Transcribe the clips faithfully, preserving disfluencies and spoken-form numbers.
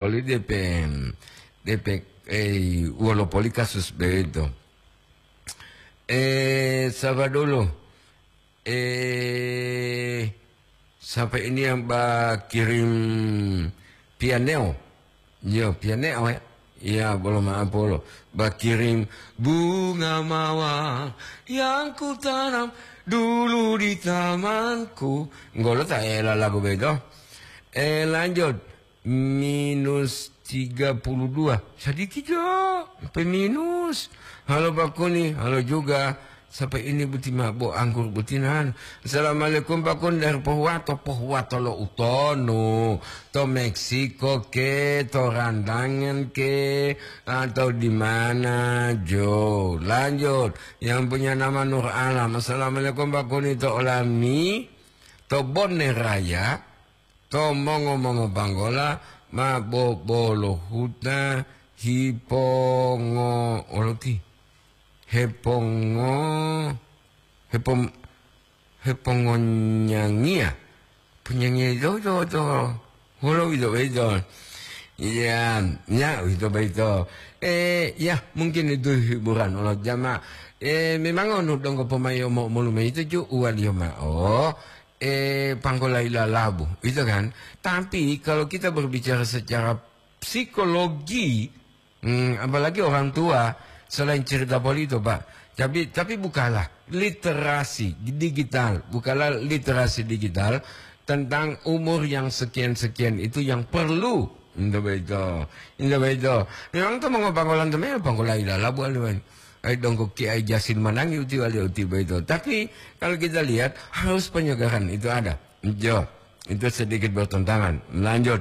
oli depe, depe, eh, wolo poli kasus beto. Eh, saba dulu. Eh, sampai ini yang ba kirim pianeo. Yo, pianeo ya. Ya, belum apa lo. Ba kirim bunga mawar yang kutanam dulu di tamanku. Enggak lo tak ela lagu beto. Eh, lanjut. Minus tiga puluh dua. Sedikit jo, sampai minus. Halo Pak Kuni, halo juga. Sampai ini boti mabo anggur botinan. Assalamualaikum Pak Kuni dari Pohuwato. Pohuwato lo utonu. To Meksiko ke, to Randangan ke, atau di mana jo. Lanjut. Yang punya nama Nur Alam. Assalamualaikum Pak Kuni to Olami. To Bone Raya. To mongo-mongo banggola ma bobolo huta hipongo oloti. Hepongo, hepom-, hepongonyangia. Ponyangia itu, itu, itu. Holo itu, itu. Iya, ya, itu, itu. Eh, ya, mungkin itu hiburan oleh jamaah. Eh, memang onu donggo pemayo mo-, molume itu ju uwaliyo ma'o. Eh, panggolayi lalabu, itu kan. Tapi kalau kita berbicara secara psikologi, hmm, apalagi orang tua, selain cerita polito, Pak. Tapi, tapi bukalah literasi digital, bukalah literasi digital tentang umur yang sekian-sekian itu yang perlu. Indah begitu, indah begitu. Memang to mongopanggolan to memang panggolayi lalabu aliwan. Ai donggo Kiai Jasin Manangi uti wali uti begitu. Tapi kalau kita lihat, harus penyegaran itu ada. Jo, itu sedikit bertentangan. Lanjut.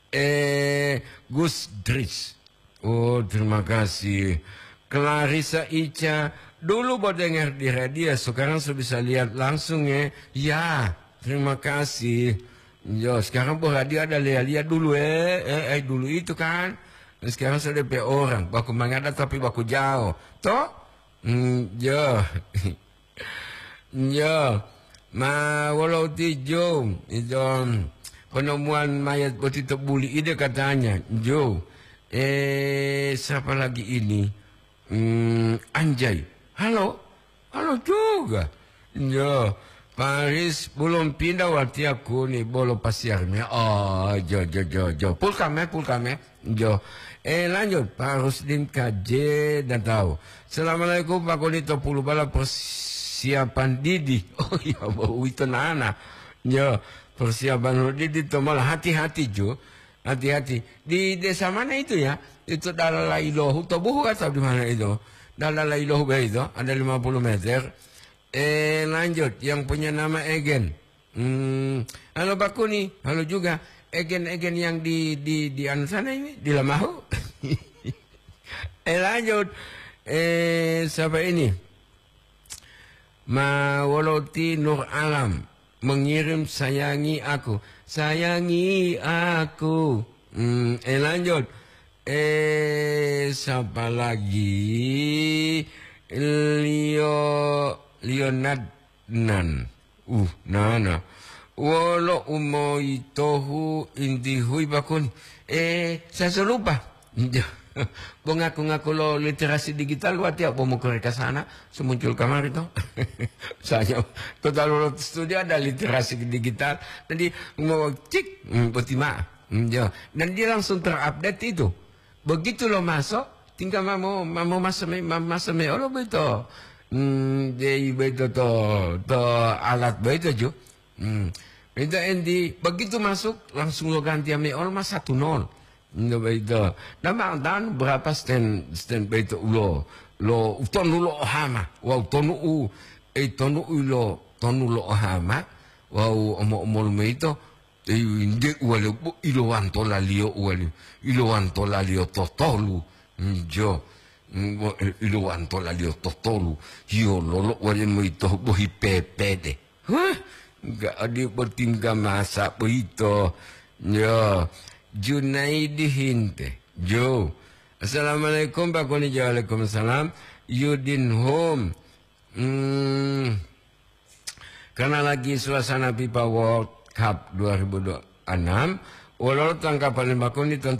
Eh, Gus Dris. Oh, terima kasih. Clarissa Ica, dulu bo dengar di radio, sekarang sudah bisa lihat langsung ya. Ya, terima kasih. Yo, sekarang bo radio ada lia-lia dulu eh. Eh, eh, dulu itu kan. Sekarang sudah pe orang, baku mangada tapi baku jauh. Toh? Hmm, yo. Yo, ma wolo uti jo, ito, penemuan mayat boti to buli ide katanya, jo. Eh, siapa lagi ini? Hmm, Anjay. Halo? Halo juga. Yo, Paris belum pindah watiya kuni bolo pasiarnya. Oh, jo, jo, jo, jo. Pulkame, pulkame. Jo. Eh, lanjut, Pak Rusdin K J dan tahu. Assalamualaikum, Pak Koni to pulu bala persiapan didi. Oh iya, bo uwito nana. Jo, persiapan didi to malah hati-hati, jo. Hati-hati. Di desa mana itu ya? Itu Dalalailohu, to buhu atau di mana itu? Dalalailohu be itu, ada lima puluh meter. Eh, lanjut, yang punya nama Egen. Hmm, halo Pak Kuni, halo juga. Egen-egen yang di, di, di anu sana ini, di Lamahu. Eh, lanjut. Eh, siapa ini? Ma Woloti Nur Alam mengirim sayangi aku. Sayangi aku. Hmm, eh, lanjut. Eh, siapa lagi? Leo, Leonard Nan. Uh, nana. Wolo umoyitohu intihui bakun. Eh, saya so lupa. Bo ngaku-ngaku lo literasi digital, wati ya, bo mukoreka sana, semuncul kamari to. Saya, total lo studio ada literasi digital. Jadi, mau cik, hmm, boti ma. Hmm, ya. Dan dia langsung terupdate itu. Begitu lo masuk, tinggal mau, mau masuk me, mau masuk me, olo beto. Hmm, jadi beto to, to alat beto ju. Hmm. Minta enti, begitu masuk, langsung lo ganti ame olo mas satu nol. Nda beto. Dan bang, dan berapa stand, stand beto ulo, lo utonu lo ohama, wa utonu u, eh, tonu ulo, tonu lo ohama, wa u omo-omol meito, eh, nde uwali, bo, ilowanto laliyo uwali, ilowanto laliyo totolu, njo, mm, bo, eh, ilowanto laliyo totolu, yo lolo uwali meito bohi pepede. Huh, nggak ada bertingkah masa begitu. Yo, Junaidi Hinte. Jo. Assalamualaikum, Pak Koni. Waalaikumsalam. Yudin Home. Hmm, karena lagi suasana fifa World Cup dua ribu dua puluh enam, Wololo tanggapan limaku ni tentang